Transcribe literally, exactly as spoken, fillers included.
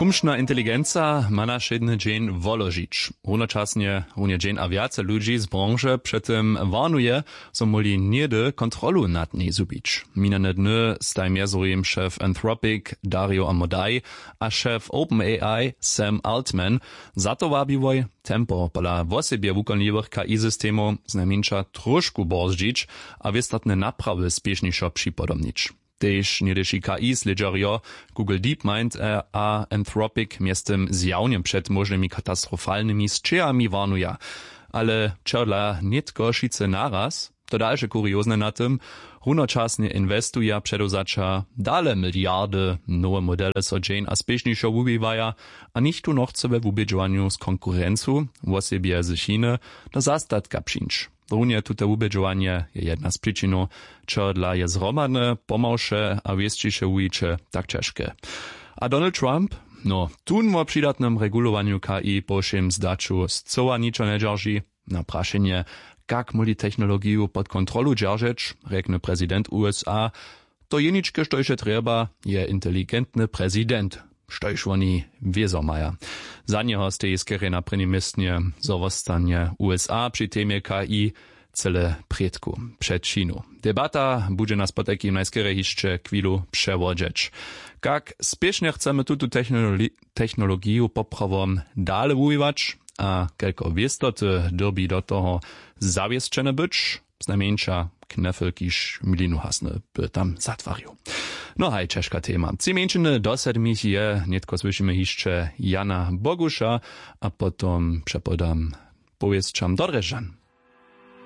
Rumšna inteligenca ma na wšědny dźeń woložić. Runočasnje runje dźeń a wjace ludźi z branže přetym warnuje, zo móhli něhdy kontrolu nad njej zhubić. Minjane dny staj mjezorjim šef Anthropic Dario Amodei a šef OpenAI Sam Altman. Za to wabiłoj tempo pola wosebje wukonliwych K I systemow znajmjeńša tróšku borzdźić a wěstatne naprawy spěšnišo připodobnić. Tež něhdyši K I slědźerjo Google DeepMind a Anthropic mjeztym zjawnje před móžnymi katastrofalnymi sćěhami warnuja. Ale čehodla nětko wšitcy naraz? To dalše kuriozne na tym: runočasnje inwestuja předewzaća dale miliardy, nowe modele so dźeń a spěšnišo wuwiwaja a nichtó nochce we wubědźowanju z konkurencu, wosebje z Chiny, do zastatka přińć. Runje tute wubědźowanje je jedna z přičinow, čehodla je zhromadne pomałše a wěsćiše wuwiće tak ćežke. A Donald Trump? No, tón wo přidatnym regulowanju K I po wšěm zdaću scyła ničo njedźerži. Na prašenje, kak móhli technologiju pod kontrolu dźeržeć, rjekny prezident U S A: „To jeničke, štož je trjeba, je inteligentny prezident, štož woni wězo maja.“ Za njeho steji skerje na prěnim městnje, zo wostanje U S A při temje K I cyle prědku před Činu. Debata budźe nas potajkim najskerje hišće chwilu přewodźeć. Kak spěšnje chcemy tutu technologi-, technologiju poprawom dale wuwiwać a kelko wěstoty dyrbi do toho zawěsćene być? Znajmjeńša Knefel, kiž milinu hasny, by tam zatwarił. No haj, ćežka tema. Tři mjeńšiny do sedmich je, nětko słyšimy hišće Jana Boguša a potom přepodam powěsćam do Drježdźan.